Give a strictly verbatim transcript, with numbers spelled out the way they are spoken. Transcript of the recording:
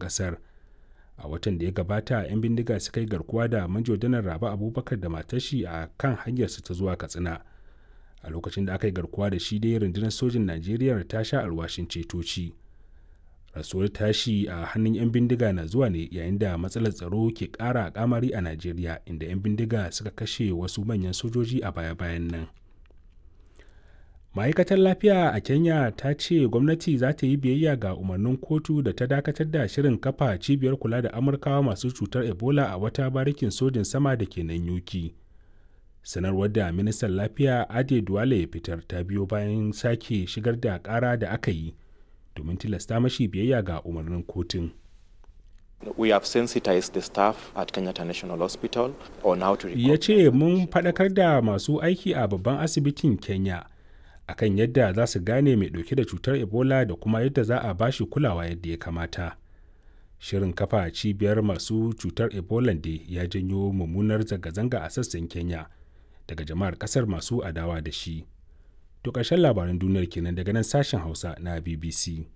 Ƙasar. A watan da ya gabata, 'yan bindiga suka yi garkuwa da Manjo Janar Rabe Abubakar da matar shi a kan hanyarsu ta zuwa Katsina. A lokacin da aka yi garkuwa da shi dai rundunar sojin Najeriya ta sha alwashin ceto shi. Rasuwar tashi a hannun 'yan bindiga na zuwa ne yayin da matsalar tsaro ke ƙara kamari a Najeriya, inda 'yan bindiga suka kashe wasu manyan sojoji a baya-bayan nan. Ma'aikatar Lafiya a Kenya ta ce gwamnati za ta yi biyayya ga umarnin kotu da ta dakatar da shirin kafa cibiyar kula da Amurkawa masu cutar Ebola a wata barikin sojin sama da ke Nanyuki. Sanarwar da ministan lafiya Ade Duale ya fitar ta biyo bayan sake shigar da ƙara da aka yi domin tilasta mashi biyayya ga umarnin kotun. We have sensitized the staff at Kenyatta National Hospital on how to Ya ce mun faɗakar da masu aiki a babban asibitin Kenya akan yadda za su gane mai ɗauke da cutar Ebola da kuma yadda za a bashi kulawa yadda ya kamata. Shirin kafa cibiyar masu cutar Ebola dai ya janyo mummunar zanga-zanga a sassan Kenya daga jama'ar ƙasar masu adawa da shi. To ƙarshen labaran duniyar kenan daga nan sashen Hausa na B B C.